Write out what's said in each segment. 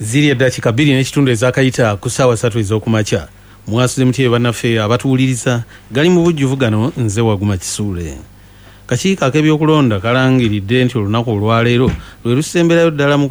Ziri eddakiika 2.5 ezaakayita ku ssaawa 3 ez'okumakya. Mwasuze mutye bannaffe abatuwuliriza? Gali mu bujjuvu gano, nze Waguma Kisuule. Kakiiko ak'ebyokulonda kalangiridde nti olunaku olwaleero lwe lusemberayo ddala mu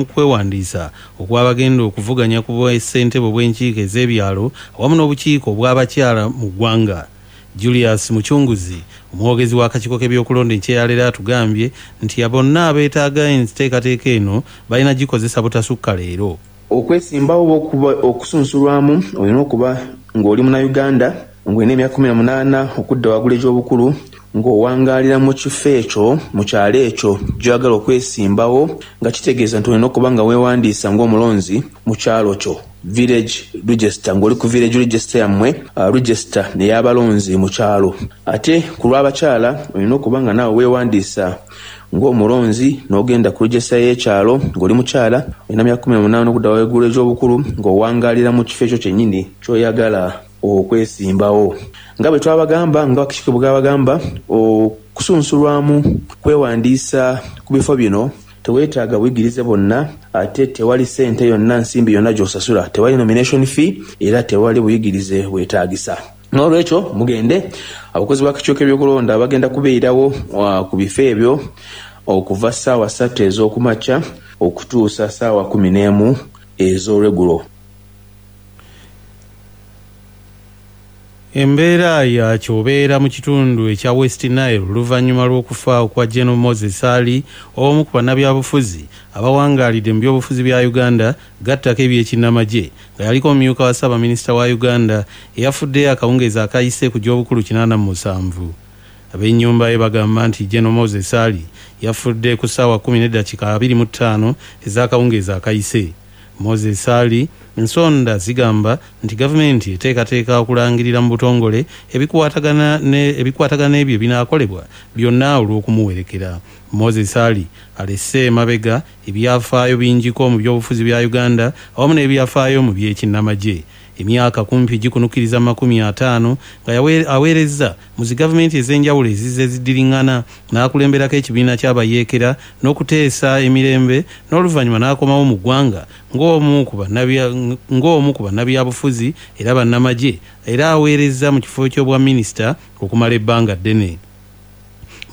kwewandiisa okw'abagenda okuvuganya ku bwessentebe obw'enkiiko ez'ebyalo awamu n'obukiiko obw'abakyala mu ggwanga. Julius Mucunguzi, omwogezi w'akakiiko k'ebyokulonda enkya ya leero, atugambye nti bonna abeetaaga enteekateeka eno balina gikozesa butasukka leero. Okwesimbawo oba okusunsulwamu olina okuba ng'oli Munnayuganda, ng'olina emyaka 18 okudda waggulu egy'obukulu, ng'owangaalira mu kifo ekyo, mu kyalo ekyo gy'oyagala okwesimbawo, nga kitegeeza nti olina okuba nga weewandiisa ng'omulonzi mu kyalo kyo, village register, ng'oli ku village register yammwe, register ey'abalonzi mu kyalo. Ate ku lw'abakyala olina okuba nga naawe weewandiisa ng'omulonzi n'ogenda ku register y'ekyalo ng'oli mukyala, olina myaka 18 okudda waggulu egy'obukulu, ng'owangaalira mu kifo ekyo kyennyini ky'oyagala okwesimbawo. Nga bwe twabagamba, nga akakiiko bwe kabagamba, okusunsulwamu kwewandiisa ku bifo bino teweetaaga buyigirize bwonna, ate tewali ssente yonna, nsimbi yonna gy'osasula, tewali nomination fee, era tewali buyigirize bwetaagisa. N'olwekyo mugende, abakozi b'akakiiko k'ebyokulonda bagenda kubeerawo ku bifo ebyo okuva ssaawa 3 ez'okumakya okutuusa ssaawa 11 ez'olweggulo. Embeera ya kyobeera mu kitundu ekya West Nile oluvannyuma lw'okufa okwa General Moses Ali, omu ku bannabyabufuzi abawangaalidde mu byobufuzi bya Uganda gattako ebyekinnamagye, nga yaliko omumyuka wa ssaabaminisita wa Uganda, eyafudde akawungeezi akayise ku gy'obukulu 87. Ab'ennyumba ye bagamba nti General Moses Ali yafudde ku ssaawa 10:25 ez'akawungeezi akayise. Moses Ali, ensonda zigamba nti gavumenti eteekateeka okulangirira mu butongole ebikwatagana n'ebyo ebinaakolebwa byonna olw'okumuwerekera. Moses Ali alese emabega ebyafaayo bingiko mu byobufuzi bya Uganda awamu n'ebyafaayo mu by'ekinnamagye. Emyaka kumpi gikunukiriza 50 nga aweerezza mu zi gavumenti ez'enjawulo ezizze ziddiriŋŋana, n'akulemberako ekibiina ky'abayeekera n'okuteesa emirembe, n'oluvannyuma n'akomawo mu ggwanga ng'omu ku bannabyabufuzi era bannamagye, era aweerezza mu kifo ky'obwa minisita okumala ebbanga ddene.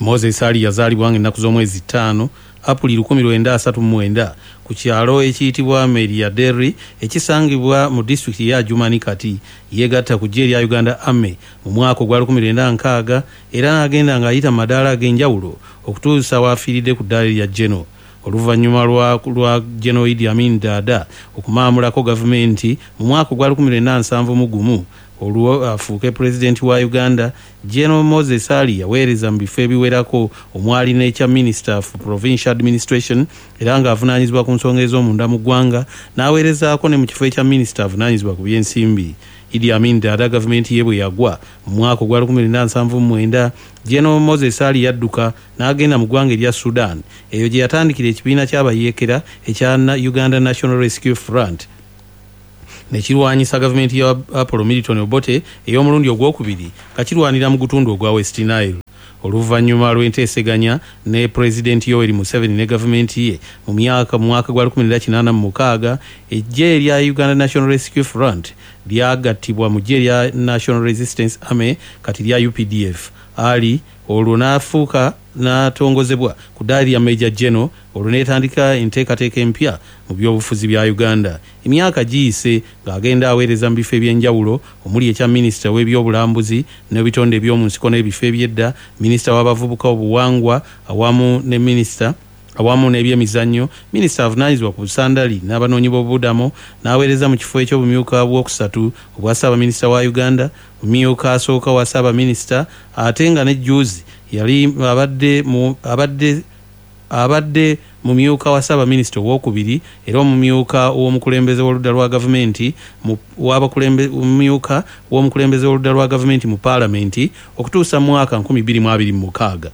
Moses Ali yazaalibwa ng'ennaku z'omwezi 5 Apuli 1939 ku kyalo ekiyitibwa Meriaderri ekisangibwa mu disitulikiti ya Adjumani kati. Yeegatta ku ggye erya Uganda Army mu mwaka ogwa 1960 era n'agenda ng'ayita mu madaala ag'enjawulo okutuusa w'afiiridde ku ddaala erya General. Oluvannyuma lwa General Idi Amin Dada okumaamulako gavumenti mu mwaka ogwa 1971 olwo afuuke pulezidenti wa Uganda, General Moses Ali yaweereza mu bifo ebiwerako omwali n'ekya Minister for Provincial Administration, era ng'avunaanyizibwa ku nsonga ez'omunda mu ggwanga, n'aweerezaako ne mu kifo ekya minisita avunaanyizibwa ku by'ensimbi. Idi Amin Dada gavumenti ye bwe yagwa mu mwaka ogwa 1979, General Moses Ali yadduka n'agenda mu ggwanga erya Sudan, eyo gye yatandikira ekibiina ky'abayeekera ekya Uganda National Rescue Front ne kirwanyisa gavumenti ya Apollo Milton Obote ey'omulundi ogwokubiri nga kirwanira mu gutundu ogwa West Nile. Oluvannyuma lw'enteeseganya ne Pulezidenti Yoweri Museveni ne gavumenti ye mu mwaka gwa 1986, eggye erya Uganda National Rescue Front lyagattibwa mu ggye erya National Resistance Army kati lya UPDF. Ali olwo n'afuuka n'atongozebwa ku ddaala lya Major General, olwo n'etandika enteekateeka empya mu byobufuzi bya Uganda. Emyaka giyise ng'agenda aweereza mu bifo eby'enjawulo omuli ekya minisita w'ebyobulambuzi n'ebitonde eby'omu nsiko n'ebifo eby'edda, minisita w'abavubuka obuwangwa awamu ne minisita awamu n'ebyemizannyo, minisita avunaanyizibwa ku busandali n'abanoonyi b'obubudamo, n'aweereza mu kifo eky'obumyuka bwokusatu obwa ssaabaminisita wa Uganda, mumyuka asooka wa ssaabaminisita, ate nga ne jjuuzi yali abadde mumyuka wa ssaabaminisita owookubiri era omumyuka w'omukulembeze w'oludda lwa gavumenti omumyuka w'omukulembeze w'oludda lwa gavumenti mu paalamenti okutuusa mu mwaka 2026.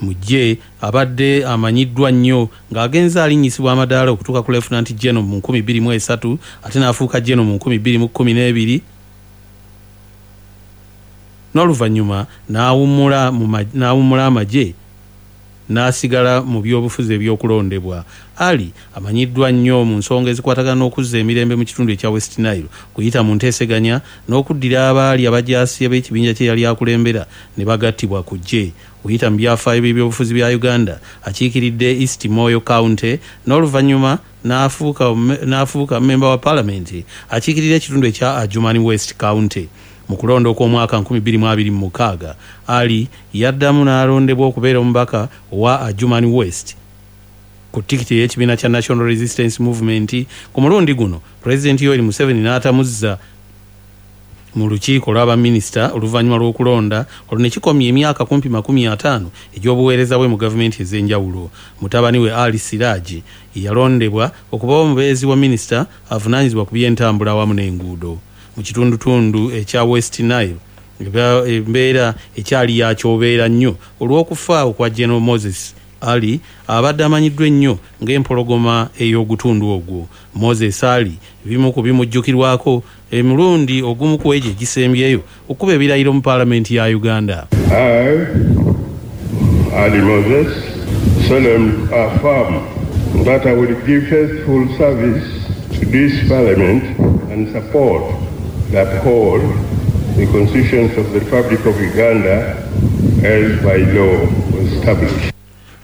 Mu ggye abadde amanyiddwa nnyo ng'agenze alinnyisibwa amadaala okutuuka ku Lieutenant General mu 2003, ate n'afuuka General mu 2012, n'oluvannyuma n'awummula amagye. N'asigala mu byobufuzi ebyokulondebwa. Ali amanyiddwa nnyo mu nsonga ezikwatagana n'okuzza emirembe mu kitundu ekya West Nile kuyita mu nteeseganya n'okuddira abaali abajaasi ab'ekibinja kye yali akulembera ne bagattibwa ku ggye. Kuyita mu byafaayo by'ebyobufuzi bya Uganda, akiikiridde East Moyo County n'oluvannyuma n'afuuka mmemba wa Paalamenti akiikirira ekitundu ekya Adjumani West County. Mu kulonda okw'omwaka 2026, Ali yaddamu n'alondebwa okubeera omubaka owa Adjumani West ku tikiti ey'ekibiina kya National Resistance Movement. Ku mulundi guno Pulezidenti Yoweri Museveni n'atamuzza mu lukiiko lw'abaminisita oluvannyuma lw'okulonda olwo, ne kikomya emyaka kumpi 50 egy'obuweereza bwe mu gavumenti ez'enjawulo. Mutabani we Ali Siraji yalondebwa okuba omubeezi wa minisita avunaanyizibwa ku by'entambula awamu n'enguudo. Mu kitundutundu ekya West Nile, embeera ekyali yakyobeera nnyo olw'okufa okwa General Moses Ali abadde amanyiddwa ennyo ng'empologoma ey'ogutundu ogwo. Moses Ali bimu ku bimujjukirwako emirundi ogumu ku egyo egisembyeyo okuba ebirayiro mu Paalamenti ya Uganda. I, Ali Moses, solemnly affirm that I will give faithful service to this Parliament and support and uphold the constitutions of the Republic of Uganda as by law established.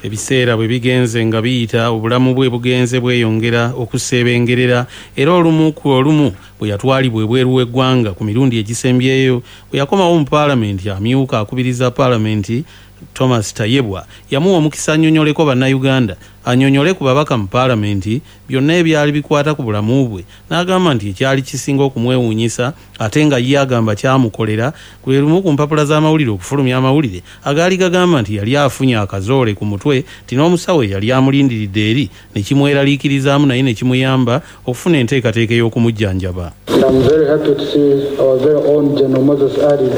Ebiseera bwe bigenze nga biyita, obulamu bwe bugenze bweyongera okuseebengerera, era olumu ku olumu bwe yatwalibwa ebweru w'eggwanga ku mirundi egisembyeyo. Bwe yakomawo mu Paalamenti, amyuka akubiriza Paalamenti Thomas Tayebwa yamuwa omukisa annyonnyoleko Bannayuganda, annyonnyole ku babaka mu Paalamenti byonna ebyali bikwata ku bulamu bwe, n'agamba nti ekyali kisinga okumwewuunyisa, ate nga ye agamba kyamukolera, lwe lumu ku mpapula z'amawulire okufulumya amawulire agaali gagamba nti yali afunye akazoole ku mutwe, nti n'omusawo eyali amulindiridde eri ne kimweraliikirizaamu, naye ne kimuyamba okufuna enteekateeka ey'okumujjanjaba. And I'm very happy to see our very own General Moses Ali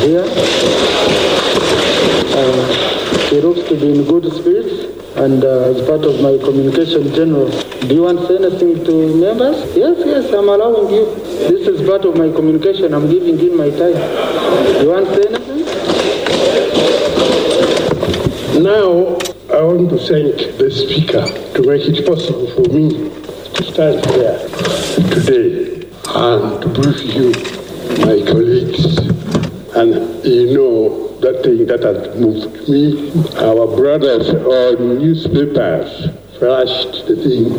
here. He looks to be in good spirits, and as part of my communication, General, do you want to say anything to members? Yes, I'm allowing you. This is part of my communication. I'm giving him my time. You want to say anything? Now, I want to thank the Speaker to make it possible for me to stand here today and to brief you, my colleagues. And you know that thing that has moved me. Our brothers on newspapers flashed the thing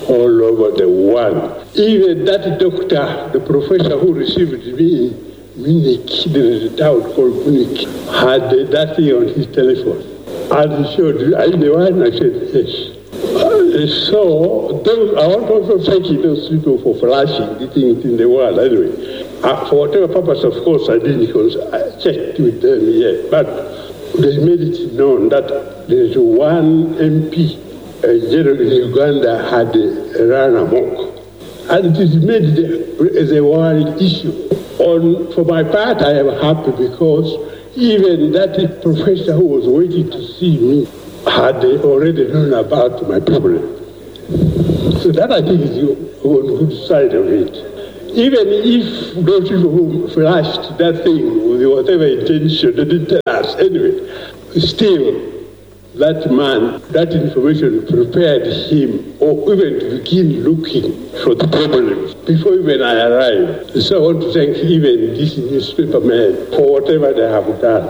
all over the world. Even that doctor, the professor who received me, Munich, there is a town called Munich, had that thing on his telephone. And he showed, "Are you the one?" I said, "Yes." So I want to also thank those people for flashing the thing in the world anyway. For whatever purpose, of course, I didn't because I checked with them yet. But they made it known that there is one MP, a general in Uganda, had run amok. And it is made as a world issue. For my part, I am happy because even that professor who was waiting to see me had already known about my problem. So that, I think, is on the good side of it. Even if those people who flashed that thing with whatever intention, they didn't tell us anyway, still that man, that information prepared him or even to begin looking for the problems before even I arrived. So I want to thank even this newspaper man for whatever they have done.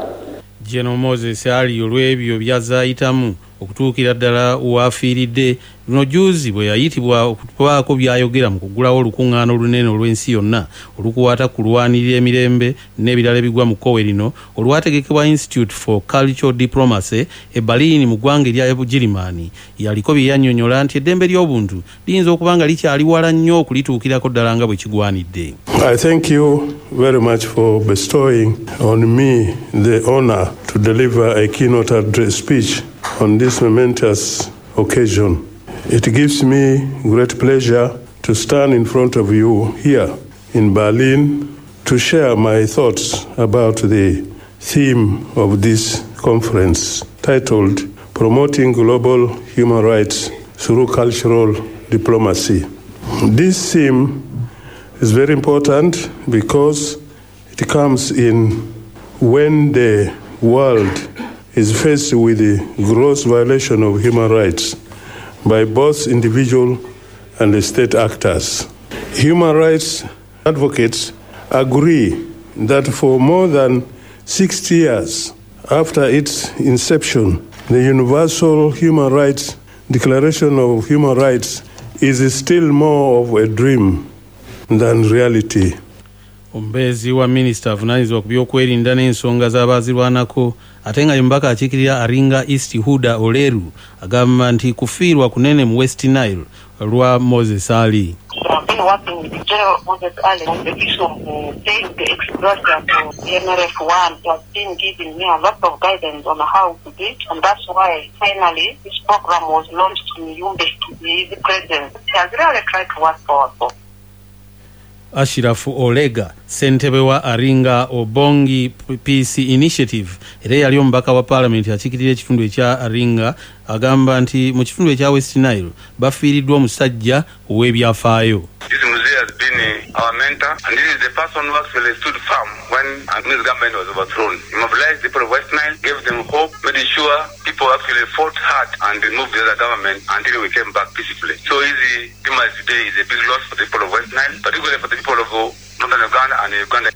General Moses Ali olw'ebyo byazayitamu okutuukira ddala waafiiridde luno juzi bwe yayitibwa okubaako by'ayogera mu kuggulawo olukuŋŋaana olunene olw'ensi yonna olukwata ku kulwanirira emirembe n'ebirala ebigwa mu kkowe lino, olwategekebwa Institute for Cultural Diplomacy e Berlin mu ggwanga erya Bugirimaani. Yaliko bye yannyonnyola nti eddembe ly'obuntu liyinza okuba nga likyali wala nnyo okulituukirako ddala nga bwe kigwanidde. I thank you very much for bestowing on me the honor to deliver a keynote address speech on this momentous occasion. It gives me great pleasure to stand in front of you here in Berlin to share my thoughts about the theme of this conference, titled Promoting Global Human Rights Through Cultural Diplomacy. This theme is very important because it comes in when the world is faced with the gross violation of human rights by both individual and the state actors. Human rights advocates agree that for more than 60 years after its inception, the Universal Human Rights Declaration of Human Rights is still more of a dream than reality. Omubeezi wa minisita avunaanyizibwa ku byokwerinda n'ensonga z'abaazirwanako ate nga ye mubaka akiikirira Aringa East Huda Oleru agamba nti kufiirwa kunene mu West Nile olwa Moses Ali. I've been working with General Moses Ali on the issue of paying the ex gratia to MRF 1. He has been giving me a lot of guidance on how to do it, and that's why finally this program was launched in Yumbe in his presence. He has really tried to work for us. Ashirafu Olega, ssentebe wa Aringa Obongi Peace Initiative era eyali omubaka wa paalamenti akiikirira ekitundu ekya Aringa, agamba nti mu kitundu ekya West Nile bafiiriddwa omusajja ow'ebyafaayo. This Mzee has been our mentor, and this is the person who actually stood firm when Amin's government was overthrown. He mobilized the people of West Nile, gave them hope, made sure people actually fought hard and removed the other government until we came back peacefully. So his demise today is a big loss for the people of West Nile, particularly for the people of Northern Uganda and Uganda.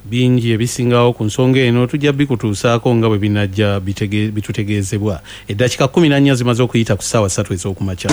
Bingi ebisingawo ku nsonga eno tujja bikutuusaako nga bwe binajja bitutegeezebwa. Eddakiika 14 zimaze okuyita ku ssaawa 3 ez'okumakya.